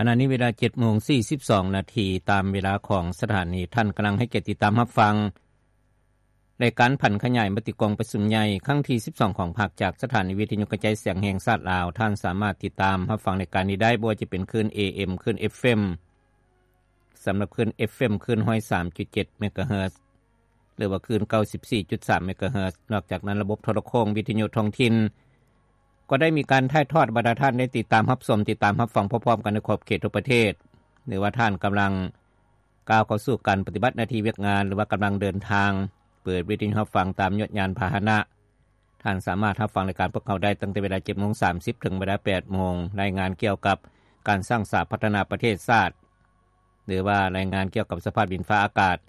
ຂະນະນີ້ເວລາເຈັດໂມງສີ່ສິບສອງນາທີ ຕາມເວລາຂອງສະຖານີ. ທ່ານກຳລັງໃຫ້ກຽດຕິດຕາມຮັບຟັງ ລາຍການຜັນຂະຫຍາຍມະຕິກອງປະຊຸມໃຫຍ່ຄັ້ງທີສິບສອງຂອງພັກ ຈາກສະຖານີວິທະຍຸກະຈາຍສຽງແຫ່ງຊາດລາວ. ທ່ານສາມາດຕິດຕາມຮັບຟັງລາຍການນີ້ໄດ້ ບໍ່ວ່າຈະເປັນຄື້ນ ເອເອັມ ຄື້ນ ເອັຟເອັມ ສຳລັບຄື້ນ ເອັຟເອັມ ຄື້ນຮ້ອຍສາມຈຸດເຈັດເມກາເຮີດ ຫຼືວ່າຄື້ນເກົ້າສິບສີ່ຈຸດສາມເມກາເຮີດ. ນອກຈາກນັ້ນ ລະບົບໂທລະໂຄ່ງວິທະຍຸທ້ອງຖິ່ນ ກໍໄດ້ມີການຖ່າຍທອດໃຫ້ບັນດາທ່ານໄດ້ຕິດຕາມຮັບຊົມ, ຕິດຕາມຮັບຟັງພ້ອມໆກັນໃນຂອບເຂດທົ່ວປະເທດ ຫຼືວ່າທ່ານກຳລັງກ້າວເຂົ້າສູ່ການປະຕິບັດໜ້າທີ່ວຽກງານ ຫຼືວ່າກຳລັງເດີນທາງ, ເປີດວິທະຍຸຮັບຟັງຕາມຍານພາຫະນະ. ທ່ານສາມາດຮັບຟັງລາຍການພວກເຮົາໄດ້ຕັ້ງແຕ່ເວລາເຈັດໂມງສາມສິບ ເຖິງເວລາແປດໂມງ, ລາຍງານກ່ຽວກັບການສ້າງສາພັດທະນາປະເທດຊາດ ຫຼືວ່າລາຍງານກ່ຽວກັບສະພາບດິນຟ້າອາກາດ.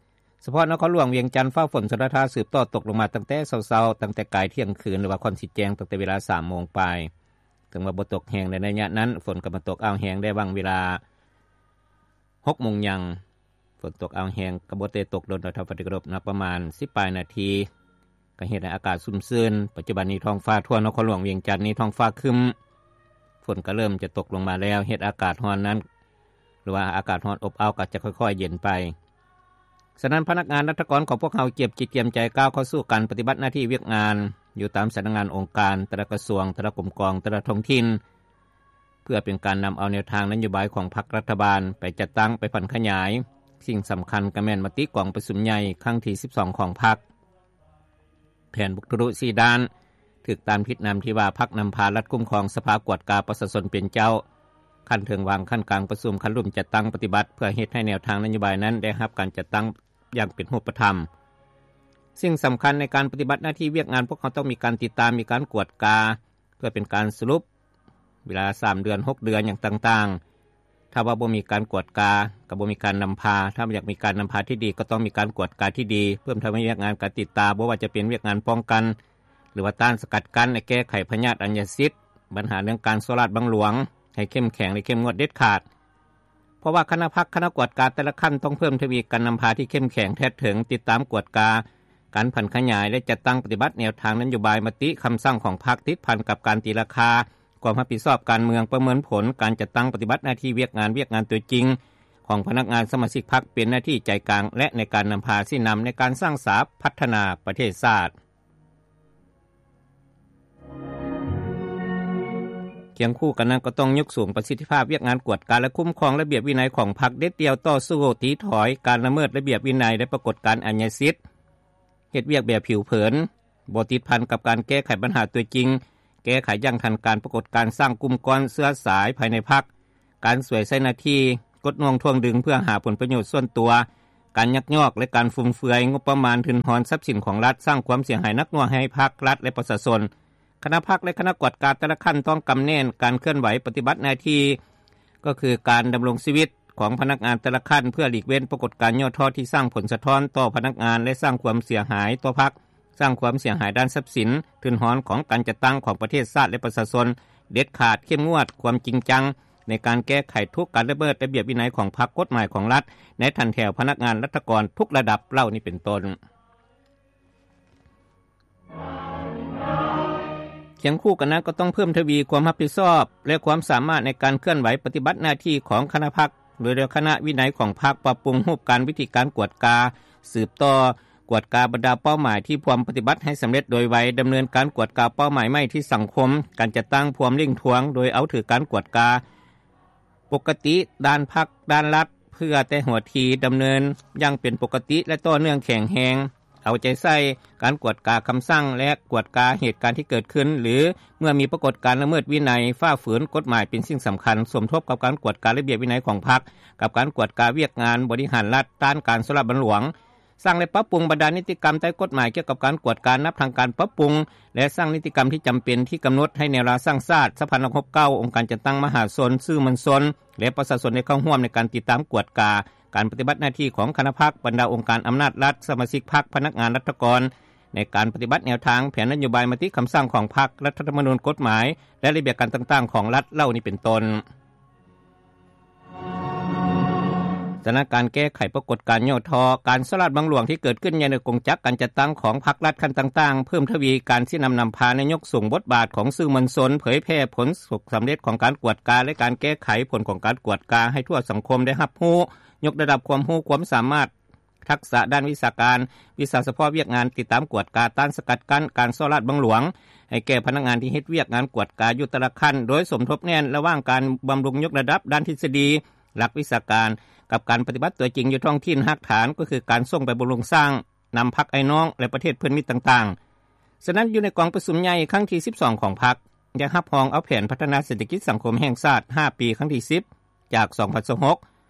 ສະເພາະນະຄອນຫຼວງວຽງຈັນ ຟ້າຝົນຊົນລະທາສືບຕໍ່ຕົກລົງມາຕັ້ງແຕ່ເຊົ້າໆ, ຕັ້ງແຕ່ກາຍທ່ຽງຄືນ ຫຼືວ່າກ່ອນຊິແຈ້ງ, ຕັ້ງແຕ່ເວລາສາມໂມງປາຍ. ເຖິງວ່າບໍ່ຕົກແຮງໃນໄລຍະນັ້ນ, ຝົນກໍມາຕົກອ້າວແຮງໄດ້ຫວ່າງເວລາຫົກໂມງຫຍັງ. ຝົນຕົກອ້າວແຮງກໍບໍ່ໄດ້ຕົກດົນດອກທ່ານ ປະຕິກະລົບ ນັບປະມານສິບປາຍນາທີ ກໍເຮັດໃຫ້ອາກາດຊຸ່ມຊື່ນ. ປັດຈຸບັນນີ້ທ້ອງຟ້າທົ່ວນະຄອນຫຼວງວຽງຈັນນີ້ທ້ອງຟ້າຄຶ້ມ, ຝົນກໍເລີ່ມຈະຕົກລົງມາແລ້ວ, ເຮັດອາກາດຮ້ອນນັ້ນ ຫຼືວ່າອາກາດຮ້ອນອົບອ້າວກໍຈະຄ່ອຍໆເຢັນໄປ. ສະນັ້ນ ພະນັກງານລັດຖະກອນຂອງພວກເຮົາກຽມຈິດກຽມໃຈກ້າວເຂົ້າສູ່ການປະຕິບັດໜ້າທີ່ວຽກງານ ຢູ່ຕາມສຳນັກງານ, ອົງການ, ແຕ່ລະກະຊວງ, ແຕ່ລະກົມກອງ, ແຕ່ລະທ້ອງຖິ່ນ ເພື່ອເປັນການນຳເອົາແນວທາງນະໂຍບາຍຂອງພັກລັດຖະບານໄປຈັດຕັ້ງ, ໄປຜັນຂະຫຍາຍ. ສິ່ງສຳຄັນກໍແມ່ນມະຕິກອງປະຊຸມໃຫຍ່ຄັ້ງທີສິບສອງຂອງພັກ. ແຜນບຸກທະລຸສີ່ດ້ານ ຖືກຕາມທິດນຳທີ່ວ່າ ພັກນຳພາລັດຄຸ້ມຄອງ, ສະພາກວດກາ, ປະຊາຊົນເປັນເຈົ້າ, ຂັ້ນເທິງວາງ, ຂັ້ນກາງປະຊຸມ, ຂັ້ນລຸ່ມຈັດຕັ້ງປະຕິບັດ ເພື່ອເຮັດໃຫ້ແນວທາງນະໂຍບາຍນັ້ນໄດ້ຮັບການຈັດຕັ້ງຢ່າງເປັນຮູບປະທຳ. ສິ່ງສຳຄັນໃນການປະຕິບັດໜ້າທີ່ວຽກງານ ພວກເຮົາຕ້ອງມີການຕິດຕາມ, ມີການກວດກາ ເພື່ອເປັນການສະຫຼຸບເວລາສາມເດືອນ, ຫົກເດືອນ ຫຍັງຕ່າງໆ. ຖ້າວ່າບໍ່ມີການກວດກາ ກໍບໍ່ມີການນຳພາ. ຖ້າຢາກມີການນຳພາທີ່ດີ ກໍຕ້ອງມີການກວດກາທີ່ດີ, ເພີ່ມທະວີວຽກງານການຕິດຕາ, ບໍ່ວ່າຈະເປັນວຽກງານປ້ອງກັນ ຫຼືວ່າຕ້ານສະກັດກັ້ນ ແລະ ແກ້ໄຂພະຍາດອັນຍາສິດ, ບັນຫາເລື່ອງການສໍ້ລາດບັງຫຼວງ ໃຫ້ເຂັ້ມແຂງ ແລະ ເຂັ້ມງວດເດັດຂາດ. ເພາະວ່າຄະນະພັກ, ຄະນະກວດກາແຕ່ລະຂັ້ນ ຕ້ອງເພີ່ມທະວີການນຳພາທີ່ເຂັ້ມແຂງ, ແທດເຖິງ, ຕິດຕາມກວດກາການຜັນຂະຫຍາຍ ແລະ ຈັດຕັ້ງປະຕິບັດແນວທາງນະໂຍບາຍ, ມະຕິ, ຄຳສັ່ງຂອງພັກ ຕິດພັນກັບການຕີລາຄາ, ຄວາມຮັບຜິດຊອບການເມືອງ, ປະເມີນຜົນການຈັດຕັ້ງປະຕິບັດໜ້າທີ່ວຽກງານ, ວຽກງານຕົວຈິງຂອງພະນັກງານສະມາຊິກພັກ ເປັນໜ້າທີ່ໃຈກາງ ແລະ ໃນການນຳພາຊີ້ນຳໃນການສ້າງສາພັດທະນາປະເທດຊາດ. ຄຽງຄູ່ກັນນັ້ນ ກໍຕ້ອງຍົກສູງປະສິດທິພາບວຽກງານກວດກາ ແລະ ຄຸ້ມຄອງລະບຽບວິໄນຂອງພັກ, ເດັດດ່ຽວຕໍ່ສູ້ຕີຖອຍການລະເມີດລະບຽບວິໄນ ແລະ ປາກົດການອັນຍາສິດ, ເຮັດວຽກແບບຜິວເຜີນ, ບໍ່ຕິດພັນກັບການແກ້ໄຂບັນຫາຕົວຈິງ, ແກ້ໄຂຢ່າງທັນການປາກົດການສ້າງກຸ່ມກ້ອນເຊື້ອສາຍພາຍໃນພັກ, ການສວຍໃຊ້ໜ້າທີ່, ກົດໜ່ວງຖ່ວງດຶງເພື່ອຫາຜົນປະໂຫຍດສ່ວນຕົວ, ການຍັກຍອກ ແລະ ການຟຸມເຟືອຍງົບປະມານທຶນຮອນຊັບສິນຂອງລັດ, ສ້າງຄວາມເສຍຫາຍໜັກໜ່ວງໃຫ້ພັກ, ລັດ ແລະ ປະຊາຊົນ. ຄະນະພັກ ແລະ ຄະນະກວດກາແຕ່ລະຂັ້ນຕ້ອງກຳແໜ້ນການເຄື່ອນໄຫວປະຕິບັດໜ້າທີ່ ກໍຄືການດຳລົງຊີວິດຂອງພະນັກງານແຕ່ລະຂັ້ນ ເພື່ອຫຼີກເວັ້ນປາກົດການຫຍໍ້ທໍ້ທີ່ສ້າງຜົນສະທ້ອນຕໍ່ພະນັກງານ ແລະ ສ້າງຄວາມເສຍຫາຍຕໍ່ພັກ, ສ້າງຄວາມເສຍຫາຍດ້ານຊັບສິນ, ທຶນຮອນຂອງການຈັດຕັ້ງຂອງປະເທດຊາດ ແລະ ປະຊາຊົນ, ເດັດຂາດ, ເຂັ້ມງວດ, ຄວາມຈິງຈັງໃນການແກ້ໄຂທຸກການລະເມີດລະບຽບວິໄນຂອງພັກ, ກົດໝາຍຂອງລັດ ໃນຖັນແຖວພະນັກງານລັດຖະກອນທຸກລະດັບເຫຼົ່ານີ້ເປັນຕົ້ນ. ຄຽງຄູ່ກັນນັ້ນ ກໍຕ້ອງເພີ່ມທະວີຄວາມຮັບຜິດຊອບ ແລະ ຄວາມສາມາດໃນການເຄື່ອນໄຫວປະຕິບັດໜ້າທີ່ຂອງຄະນະພັກ, ໂດຍລວມຄະນະວິໄນຂອງພັກ, ປັບປຸງຮູບການ, ວິທີການກວດກາ, ສືບຕໍ່ກວດກາບັນດາເປົ້າໝາຍທີ່ພວມປະຕິບັດໃຫ້ສຳເລັດໂດຍໄວ, ດຳເນີນການກວດກາເປົ້າໝາຍໃໝ່ທີ່ສັງຄົມ, ການຈັດຕັ້ງພວມເລັ່ງທວງ ໂດຍເອົາຖືການກວດກາ ປົກກະຕິດ້ານພັກ, ດ້ານລັດ ເພື່ອແຕ່ຫົວທີດຳເນີນຢ່າງເປັນປົກກະຕິ ແລະ ຕໍ່ເນື່ອງແຂງແຮງ, ເອົາໃຈໃສ່ການກວດກາຄຳສັ່ງ ແລະ ກວດກາເຫດການທີ່ເກີດຂຶ້ນ ຫຼື ເມື່ອມີປາກົດການລະເມີດວິໄນ, ຝ່າຝືນກົດໝາຍເປັນສິ່ງສຳຄັນ, ສົມທົບກັບການກວດກາລະບຽບວິໄນຂອງພັກ ກັບການກວດກາວຽກງານບໍລິຫານລັດ, ຕ້ານການສໍ້ລາດບັງຫຼວງ, ສ້າງ ແລະ ປັບປຸງບັນດານິຕິກຳໃຕ້ກົດໝາຍກ່ຽວກັບການກວດກາ ນັບທັງການປັບປຸງ ແລະ ສ້າງນິຕິກຳທີ່ຈຳເປັນທີ່ກຳນົດໃຫ້ແນວລາວສ້າງຊາດ, ສະພານັກຮົບເກົ່າ, ອົງການຈັດຕັ້ງມະຫາຊົນ, ສື່ມວນຊົນ ແລະ ປະຊາຊົນໄດ້ເຂົ້າຮ່ວມໃນການຕິດຕາມກວດກາການປະຕິບັດໜ້າທີ່ຂອງຄະນະພັກ, ບັນດາອົງການອຳນາດລັດ, ສະມາຊິກພັກ, ພະນັກງານລັດຖະກອນ ໃນການປະຕິບັດແນວທາງ, ແຜນນະໂຍບາຍ, ມະຕິ, ຄຳສັ່ງຂອງພັກ, ລັດຖະທຳມະນູນ, ກົດໝາຍ ແລະ ລະບຽບການຕ່າງໆຂອງລັດເຫຼົ່ານີ້ເປັນຕົ້ນ. ສະນັ້ນ ການແກ້ໄຂປາກົດການຫຍໍ້ທໍ້, ການສໍ້ລາດບັງຫຼວງທີ່ເກີດຂຶ້ນຢູ່ໃນກົງຈັກການຈັດຕັ້ງຂອງພັກລັດຂັ້ນຕ່າງໆ, ເພີ່ມທະວີການຊີ້ນຳນຳພາ ແລະ ຍົກສູງບົດບາດຂອງສື່ມວນຊົນ, ເຜີຍແຜ່ຜົນສຳເລັດຂອງການກວດກາ ແລະ ການແກ້ໄຂຜົນຂອງການກວດກາໃຫ້ທົ່ວສັງຄົມໄດ້ຮັບຮູ້, ຍົກລະດັບຄວາມຮູ້ຄວາມສາມາດ, ທັກສະດ້ານວິຊາການ, ວິຊາສະເພາະວຽກງານຕິດຕາມກວດກາ, ຕ້ານສະກັດກັ້ນການສໍ້ລາດບັງຫຼວງ ໃຫ້ແກ່ພະນັກງານທີ່ເຮັດວຽກງານກວດກາຢູ່ແຕ່ລະຂັ້ນ, ໂດຍສົມທົບແໜ້ນລະຫວ່າງການບຳລຸງຍົກລະດັບດ້ານທິດສະດີ, ຫຼັກວິຊາການ ກັບການປະຕິບັດຕົວຈິງຢູ່ທ້ອງຖິ່ນຮາກຖານ, ກໍຄືການສົ່ງໄປບຳລຸງສ້າງນຳພັກອ້າຍນ້ອງ ແລະ ປະເທດເພື່ອນມິດຕ່າງໆ. ສະນັ້ນ ຢູ່ໃນກອງປະຊຸມໃຫຍ່ຄັ້ງທີສິບສອງຂອງພັກ ໄດ້ຮັບຮອງເອົາແຜນພັດທະນາເສດຖະກິດສັງຄົມແຫ່ງຊາດຫ້າປີ ຄັ້ງທີສິບ ຈາກສອງພັນຊາວຫົກ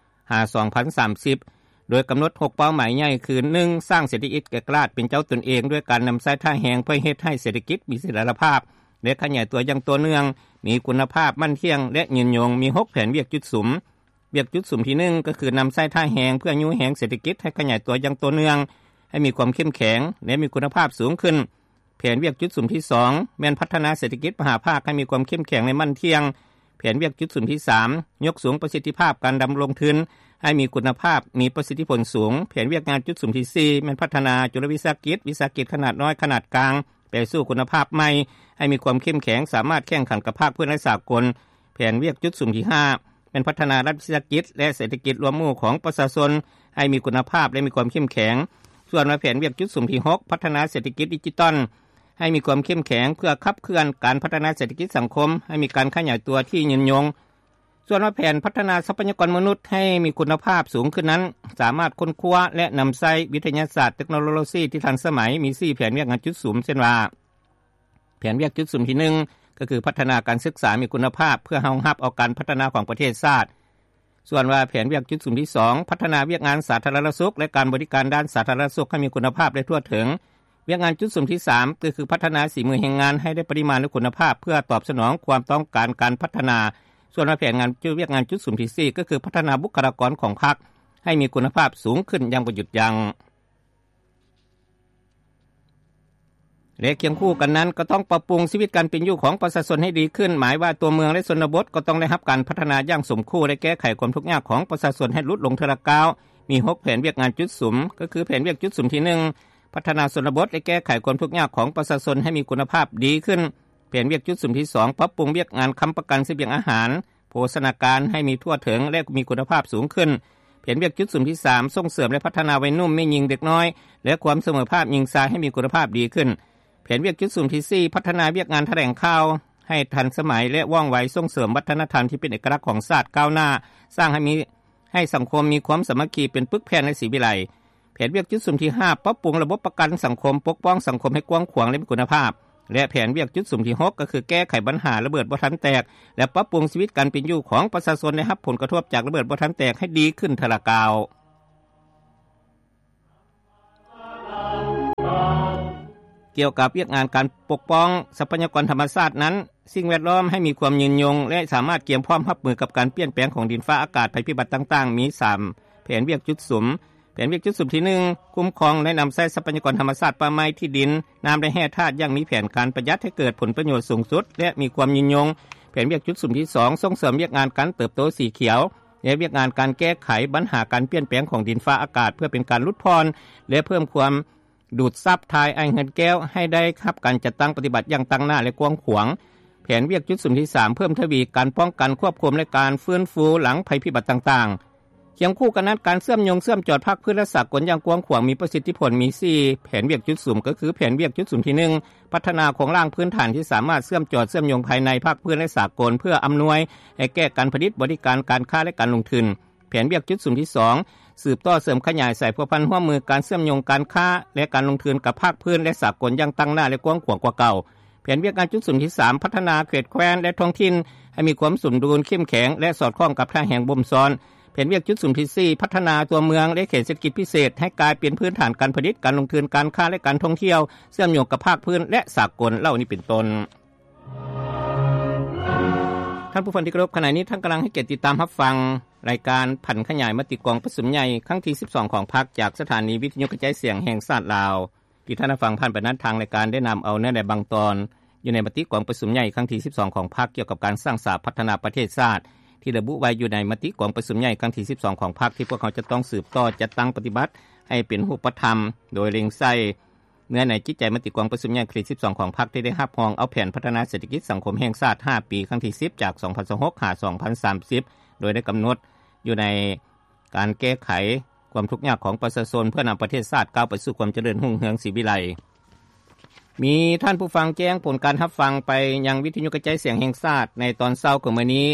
ຫາ ສອງພັນສາມສິບ ໂດຍກຳນົດຫົກເປົ້າໝາຍໃຫຍ່ຄື ໜຶ່ງ ສ້າງເສດຖະກິດເອກະລາດເປັນເຈົ້າຕົນເອງ ດ້ວຍການນຳໃຊ້ທ່າແຮງເພື່ອເຮັດໃຫ້ເສດຖະກິດມີສະຖຽນລະພາບ ແລະ ຂະຫຍາຍຕົວຢ່າງຕໍ່ເນື່ອງ, ມີຄຸນນະພາບ, ໝັ້ນທ່ຽງ ແລະ ຍືນຍົງ, ມີຫົກແຜນວຽກຈຸດສຸມ. ວຽກຈຸດສຸມທີໜຶ່ງ ກໍຄືນຳໃຊ້ທ່າແຮງເພື່ອຍູ້ແຮງເສດຖະກິດໃຫ້ຂະຫຍາຍຕົວຢ່າງຕໍ່ເນື່ອງ, ໃຫ້ມີຄວາມເຂັ້ມແຂງ ແລະ ມີຄຸນນະພາບສູງຂຶ້ນ. ແຜນວຽກຈຸດສຸມທີສອງ ແມ່ນພັດທະນາເສດຖະກິດມະຫາພາກໃຫ້ມີຄວາມເຂັ້ມແຂງ ແລະ ໝັ້ນທ່ຽງ. ແຜນວຽກຈຸດສຸມທີສາມ ຍົກສູງປະສິດທິພາບການດຳລົງທຶນໃຫ້ມີຄຸນນະພາບ, ມີປະສິດທິຜົນສູງ. ແຜນວຽກງານຈຸດສຸມທີສີ່ ແມ່ນພັດທະນາຈຸລະວິສາຫະກິດ, ວິສາຫະກິດຂະໜາດນ້ອຍ, ຂະໜາດກາງ ໄປສູ່ຄຸນນະພາບໃໝ່, ໃຫ້ມີຄວາມເຂັ້ມແຂງ, ສາມາດແຂ່ງຂັນກັບພາກພື້ນ ແລະ ສາກົນ. ແຜນວຽກຈຸດສຸມທີຫ້າ ແມ່ນພັດທະນາລັດວິສາຫະກິດ ແລະ ເສດຖະກິດລວມໝູ່ຂອງປະຊາຊົນ ໃຫ້ມີຄຸນນະພາບ ແລະ ມີຄວາມເຂັ້ມແຂງ. ສ່ວນວ່າແຜນວຽກຈຸດສຸມທີຫົກ ພັດທະນາເສດຖະກິດດິຈິຕອນ ໃຫ້ມີຄວາມເຂັ້ມແຂງ ເພື່ອຂັບເຄື່ອນການພັດທະນາເສດຖະກິດສັງຄົມ ໃຫ້ມີການຂະຫຍາຍຕົວທີ່ຍືນຍົງ. ສ່ວນວ່າແຜນພັດທະນາຊັບພະຍາກອນມະນຸດໃຫ້ມີຄຸນນະພາບສູງຂຶ້ນນັ້ນ ສາມາດຄົ້ນຄວ້າ ແລະ ນຳໃຊ້ວິທະຍາສາດເຕັກໂນໂລຊີທີ່ທັນສະໄໝ, ມີສີ່ແຜນວຽກງານຈຸດສຸມ ເຊັ່ນວ່າ ແຜນວຽກຈຸດສຸມທີໜຶ່ງ ກໍຄືພັດທະນາການສຶກສາມີຄຸນນະພາບ ເພື່ອຮອງຮັບເອົາການພັດທະນາຂອງປະເທດຊາດ. ສ່ວນວ່າແຜນວຽກຈຸດສຸມທີສອງ ພັດທະນາວຽກງານສາທາລະນະສຸກ ແລະ ການບໍລິການດ້ານສາທາລະນະສຸກໃຫ້ມີຄຸນນະພາບ ແລະ ທົ່ວເຖິງ. ວຽກງານຈຸດສຸມທີສາມ ກໍຄືພັດທະນາສີມືແຮງງານໃຫ້ໄດ້ປະລິມານ ແລະ ຄຸນນະພາບ ເພື່ອຕອບສະໜອງຄວາມຕ້ອງການການພັດທະນາ. ສ່ວນວ່າແຜນງານ ວຽກງານຈຸດສຸມທີສີ່ ກໍຄືພັດທະນາບຸກຄະລາກອນຂອງພັກ ໃຫ້ມີຄຸນນະພາບສູງຂຶ້ນຢ່າງບໍ່ຢຸດຢັ້ງ. ແລະ ຄຽງຄູ່ກັນນັ້ນ ກໍຕ້ອງປັບປຸງຊີວິດການເປັນຢູ່ຂອງປະຊາຊົນໃຫ້ດີຂຶ້ນ, ໝາຍວ່າຕົວເມືອງ ແລະ ຊົນນະບົດ ກໍຕ້ອງໄດ້ຮັບການພັດທະນາຢ່າງສົມຄູ່ ແລະ ແກ້ໄຂຄວາມທຸກຍາກຂອງປະຊາຊົນໃຫ້ຫຼຸດລົງເທື່ອລະກ້າວ. ມີຫົກແຜນວຽກງານຈຸດສຸມ ກໍຄືແຜນວຽກຈຸດສຸມທີໜຶ່ງ ພັດທະນາຊົນນະບົດ ແລະ ແກ້ໄຂຄວາມທຸກຍາກຂອງປະຊາຊົນໃຫ້ມີຄຸນນະພາບດີຂຶ້ນ. ແຜນວຽກຈຸດສຸມທີສອງ ປັບປຸງວຽກງານຄ້ຳປະກັນສະບຽງອາຫານ ໂພຊະນາການໃຫ້ມີທົ່ວເຖິງ ແລະ ມີຄຸນນະພາບສູງຂຶ້ນ. ແຜນວຽກຈຸດສຸມທີສາມ ສົ່ງເສີມ ແລະ ພັດທະນາໄວໜຸ່ມ, ແມ່ຍິງ, ເດັກນ້ອຍ ແລະ ຄວາມສະເໝີພາບຍິງຊາຍໃຫ້ມີຄຸນນະພາບດີຂຶ້ນ. ແຜນວຽກຈຸດສຸມທີສີ່ ພັດທະນາວຽກງານຖະແຫຼງຂ່າວໃຫ້ທັນສະໄໝ ແລະ ວ່ອງໄວ, ສົ່ງເສີມວັດທະນະທຳທີ່ເປັນເອກະລັກຂອງຊາດກ້າວໜ້າ, ສ້າງໃຫ້ມີ ໃຫ້ສັງຄົມມີຄວາມສາມັກຄີເປັນປຶກແຜ່ນ ແລະ ສີວິໄລ. ແຜນວຽກຈຸດສຸມທີຫ້າ ປັບປຸງລະບົບປະກັນສັງຄົມ, ປົກປ້ອງສັງຄົມໃຫ້ກວ້າງຂວາງ ແລະ ມີຄຸນນະພາບ. ແລະ ແຜນວຽກຈຸດສຸມທີຫົກ ກໍຄືແກ້ໄຂບັນຫາລະເບີດບໍ່ທັນແຕກ ແລະ ປັບປຸງຊີວິດການເປັນຢູ່ຂອງປະຊາຊົນໄດ້ຮັບຜົນກະທົບຈາກລະເບີດບໍ່ທັນແຕກໃຫ້ດີຂຶ້ນເທື່ອລະກ້າວ. ກ່ຽວກັບວຽກງານການປົກປ້ອງຊັບພະຍາກອນທຳມະຊາດນັ້ນ, ສິ່ງແວດລ້ອມໃຫ້ມີຄວາມຍືນຍົງ ແລະ ສາມາດກຽມພ້ອມຮັບມືກັບການປ່ຽນແປງຂອງດິນຟ້າອາກາດ, ໄພພິບັດຕ່າງໆ, ມີສາມແຜນວຽກຈຸດສຸມ. ແຜນວຽກຈຸດສຸມທີໜຶ່ງ ຄຸ້ມຄອງ ແລະ ນຳໃຊ້ຊັບພະຍາກອນທຳມະຊາດ, ປ່າໄມ້, ທີ່ດິນ, ນ້ຳ ແລະ ແຮ່ທາດຢ່າງມີແຜນການປະຢັດໃຫ້ເກີດຜົນປະໂຫຍດສູງສຸດ ແລະ ມີຄວາມຍືນຍົງ. ແຜນວຽກຈຸດສຸມທີສອງ ສົ່ງເສີມວຽກງານການເຕີບໂຕສີຂຽວ ແລະ ວຽກງານການແກ້ໄຂບັນຫາການປ່ຽນແປງຂອງດິນຟ້າອາກາດ ເພື່ອເປັນການຫຼຸດຜ່ອນ ແລະ ເພີ່ມຄວາມດູດຊັບຖ່າຍອ້າຍເຮືອນແກ້ວໃຫ້ໄດ້ຮັບການຈັດຕັ້ງປະຕິບັດຢ່າງຕັ້ງໜ້າ ແລະ ກວ້າງຂວາງ. ແຜນວຽກຈຸດສຸມທີສາມ ເພີ່ມທະວີການປ້ອງກັນ, ຄວບຄຸມ ແລະ ການຟື້ນຟູຫຼັງໄພພິບັດຕ່າງໆ. ຄຽງຄູ່ກັນນັ້ນ, ການເຊື່ອມໂຍງເຊື່ອມຈອດພາກພື້ນ ແລະ ສາກົນຢ່າງກວ້າງຂວາງມີປະສິດທິຜົນມີສີ່ແຜນວຽກຈຸດສຸມ ກໍຄືແຜນວຽກຈຸດສຸມທີໜຶ່ງ ພັດທະນາໂຄງລ່າງພື້ນຖານທີ່ສາມາດເຊື່ອມຈອດເຊື່ອມໂຍງພາຍໃນ, ພາກພື້ນ ແລະ ສາກົນ ເພື່ອອຳນວຍໃຫ້ແກ່ການຜະລິດ, ບໍລິການ, ການຄ້າ ແລະ ການລົງທຶນ. ແຜນວຽກຈຸດສຸມທີສອງ ສືບຕໍ່ເສີມຂະຫຍາຍສາຍພົວພັນຮ່ວມມືການເຊື່ອມໂຍງການຄ້າ ແລະ ການລົງທຶນກັບພາກພື້ນ ແລະ ສາກົນຢ່າງຕັ້ງໜ້າ ແລະ ກວ້າງຂວາງກວ່າເກົ່າ. ແຜນວຽກງານຈຸດສຸມທີສາມ ພັດທະນາເຂດແຄວ້ນ ແລະ ທ້ອງຖິ່ນໃຫ້ມີຄວາມສົມດຸນ, ເຂັ້ມແຂງ ແລະ ສອດຄ່ອງກັບທ່າແຮງບົ່ມຊ້ອນ. ແຜນວຽກຈຸດສຸມທີສີ່ ພັດທະນາຕົວເມືອງ ແລະ ເຂດເສດຖະກິດພິເສດໃຫ້ກາຍເປັນພື້ນຖານການຜະລິດ, ການລົງທຶນ, ການຄ້າ ແລະ ການທ່ອງທ່ຽວ ເຊື່ອມໂຍງກັບພາກພື້ນ ແລະ ສາກົນ ເຫຼົ່ານີ້ເປັນຕົ້ນ. ທ່ານຜູ້ຟັງທີ່ເຄົາລົບ, ຂະນະນີ້ທ່ານກຳລັງໃຫ້ກຽດຕິດຕາມຮັບຟັງລາຍການຜັນຂະຫຍາຍມະຕິກອງປະຊຸມໃຫຍ່ຄັ້ງທີສິບສອງຂອງພັກ ຈາກສະຖານີວິທະຍຸກະຈາຍສຽງແຫ່ງຊາດລາວ. ທີ່ທ່ານໄດ້ຟັງຜ່ານໄປນັ້ນ, ທາງລາຍການໄດ້ນຳເອົາເນື້ອໃນບາງຕອນ ຢູ່ໃນມະຕິກອງປະຊຸມໃຫຍ່ຄັ້ງທີສິບສອງຂອງພັກ ກ່ຽວກັບການສ້າງສາພັດທະນາປະເທດຊາດ ທີ່ລະບຸໄວ້ຢູ່ໃນມະຕິກອງປະຊຸມໃຫຍ່ຄັ້ງທີສິບສອງຂອງພັກ ທີ່ພວກເຮົາຈະຕ້ອງສືບຕໍ່ຈັດຕັ້ງປະຕິບັດໃຫ້ເປັນຮູບປະທຳ ໂດຍເລັງໃສ່ເນື້ອໃນຈິດໃຈມະຕິກອງປະຊຸມໃຫຍ່ຄັ້ງທີສິບສອງຂອງພັກ ທີ່ໄດ້ຮັບຮອງເອົາແຜນພັດທະນາເສດຖະກິດສັງຄົມແຫ່ງຊາດຫ້າປີ ຄັ້ງທີສິບ ຈາກສອງພັນຊາວຫົກ ຫາ ສອງພັນສາມສິບ ໂດຍໄດ້ກຳນົດຢູ່ໃນການແກ້ໄຂຄວາມທຸກຍາກຂອງປະຊາຊົນ ເພື່ອນຳປະເທດຊາດກ້າວໄປສູ່ຄວາມຈະເລີນຮຸ່ງເຮືອງສີວິໄລ. ມີທ່ານຜູ້ຟັງແຈ້ງຜົນການຮັບຟັງໄປຍັງວິທະຍຸກະຈາຍສຽງແຫ່ງຊາດໃນຕອນເຊົ້າຂອງມື້ນີ້.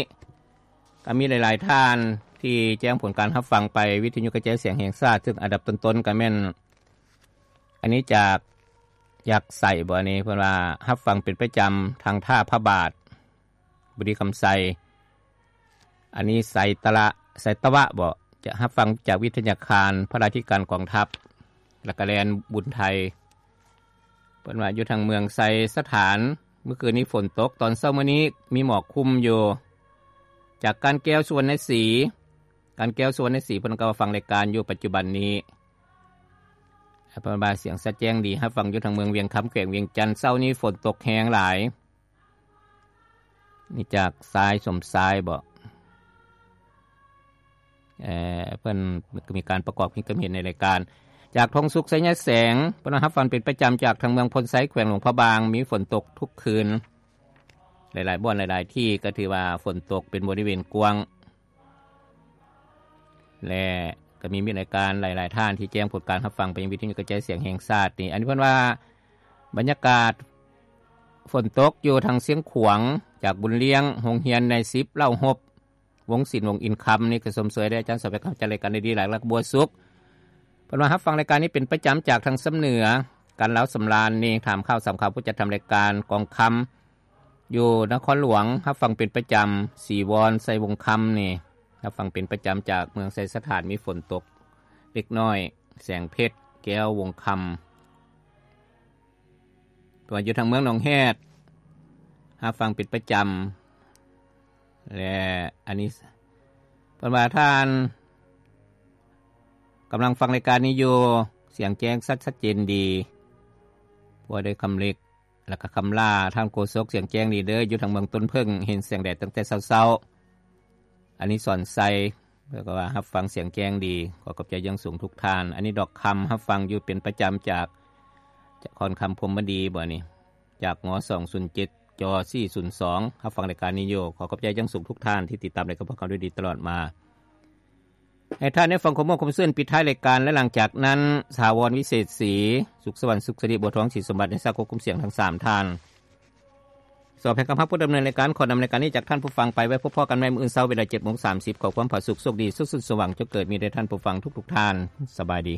ກໍມີຫຼາຍໆທ່ານທີ່ແຈ້ງຜົນການຮັບຟັງໄປວິທະຍຸກະຈາຍສຽງແຫ່ງຊາດ, ຊຶ່ງອັນດັບຕົ້ນໆກໍແມ່ນ ອັນນີ້ຈາກ ຢາກໃສ່ບໍ່ ອັນນີ້ເພິ່ນວ່າຮັບຟັງເປັນປະຈຳທາງທ່າພະບາດ ບຸຣີຄຳໄຊ. ອັນນີ້ໄຊຕະລະ ໄຊຕະວະບໍ ຈະຮັບຟັງຈາກວິທະຍາຄານພະລາທິການກອງທັບ ແລ້ວກະແລນບຸນໄທ. ເພິ່ນວ່າຢູ່ທາງເມືອງໄຊສະຖານ ມື້ຄືນນີ້ຝົນຕົກ, ຕອນເຊົ້າມື້ນີ້ມີໝອກຄຸມຢູ່. ຈາກການແກ້ວ ສຸວັນນະສີ, ການແກ້ວ ສຸວັນນະສີ ເພິ່ນກໍຟັງລາຍການຢູ່ປັດຈຸບັນນີ້. ເພິ່ນວ່າສຽງຊັດແຈ້ງດີ, ຮັບຟັງຢູ່ທາງເມືອງວຽງຄຳ ແຂວງວຽງຈັນ, ເຊົ້ານີ້ຝົນຕົກແຮງຫຼາຍ. ນີ້ຈາກຊາຍສົມຊາຍບໍ ເອີ ເພິ່ນກໍມີການປະກອບຄວາມຄິດຄວາມເຫັນໃນລາຍການ. ຈາກທອງສຸກ ໄຊຍະແສງ ເພິ່ນວ່າຮັບຟັງເປັນປະຈຳຈາກທາງເມືອງໂພນໄຊ ແຂວງຫຼວງພະບາງ ມີຝົນຕົກທຸກຄືນ ຫຼາຍໆບ່ອນຫຼາຍໆທີ່ ກໍຖືວ່າຝົນຕົກເປັນບໍລິເວນກວ້າງ ແລະ ກໍມີມິດລາຍການຫຼາຍໆທ່ານທີ່ແຈ້ງຜົນການຮັບຟັງໄປຍັງວິທະຍຸກະຈາຍສຽງແຫ່ງຊາດນີ້. ອັນນີ້ເພິ່ນວ່າບັນຍາກາດຝົນຕົກຢູ່ທາງຊຽງຂວາງ ຈາກບຸນລ້ຽງ ໂຮງຮຽນນາຍສິບ ເລົ່າຮົບ ວົງສິນ ວົງອິນຄຳ ນີ້ກໍຊົມເຊີຍໄດ້ອາຈານສອບແພກ ເຂົ້າໃຈລາຍການໄດ້ດີຫຼາຍ ແລະ ບົວສຸກ. ເພິ່ນວ່າຮັບຟັງລາຍການນີ້ເປັນປະຈຳຈາກທາງຊຳເໜືອ ກັນລາວສຳລານນີ້ ຖາມຂ່າວສາມຂ່າວ ຜູ້ຈັດທຳລາຍການກອງຄຳ ຢູ່ນະຄອນຫຼວງ ຮັບຟັງເປັນປະຈຳ ສີວອນ ໄຊວົງຄຳນີ້ ຮັບຟັງເປັນປະຈຳຈາກເມືອງໄຊສະຖານ ມີຝົນຕົກເລັກນ້ອຍ ແສງເພັດ ແກ້ວ ວົງຄຳ. ຕົວຢູ່ທາງເມືອງໜອງແຮດ ຮັບຟັງເປັນປະຈຳ ແລະ ອັນນີ້ເພິ່ນວ່າທ່ານກຳລັງຟັງລາຍການນີ້ຢູ່ ສຽງແຈ້ງຊັດ ຊັດເຈນດີ ພວກໄດ້ຄຳເລັກ ແລ້ວກໍຄຳລາ ທ່ານໂຄສົກ ສຽງແຈ້ງດີເດີ ຢູ່ທາງເມືອງຕົ້ນເຜິ້ງ ເຫັນແສງແດດຕັ້ງແຕ່ເຊົ້າໆ. ອັນນີ້ສອນໄຊ ເພິ່ນກໍວ່າຮັບຟັງສຽງແຈ້ງດີ ຂໍຂອບໃຈຢ່າງສູງທຸກທ່ານ. ອັນນີ້ດອກຄຳ ຮັບຟັງຢູ່ເປັນປະຈຳຈາກ ຈາກຄອນຄຳ ພົມມະດີບໍນີ້ ຈາກ ງ ສອງສູນເຈັດ ຈ ສີ່ສູນສອງ ຮັບຟັງລາຍການນີ້ຢູ່ ຂໍຂອບໃຈຢ່າງສູງທຸກທ່ານທີ່ຕິດຕາມລາຍການພວກເຮົາດ້ວຍດີຕະຫຼອດມາ. ໃຫ້ທ່ານໄດ້ຟັງຄວາມມ່ວນຄວາມຊື່ນປິດທ້າຍລາຍການ ແລະ ຫຼັງຈາກນັ້ນ ຖາວອນ ວິເສດສີ ສຸກສະຫວັນ ສຸກສິລິ ບົວທອງ ສີສົມບັດ ໄດ້ສາກົບຄຸມສຽງທັງສາມທ່ານ. ສອບແຫ່ງຄຳຮັບຜູ້ດຳເນີນລາຍການ ຂໍນຳລາຍການນີ້ຈາກທ່ານຜູ້ຟັງໄປ ໄວ້ພົບພໍ້ກັນໃໝ່ມື້ອື່ນເຊົ້າເວລາເຈັດໂມງສາມສິບ ຂໍຄວາມຜາສຸກ ໂຊກດີ ສຸກສຸນສວ່າງ ຈົ່ງເກີດມີແດ່ທ່ານຜູ້ຟັງທຸກໆທ່ານ. ສະບາຍດີ.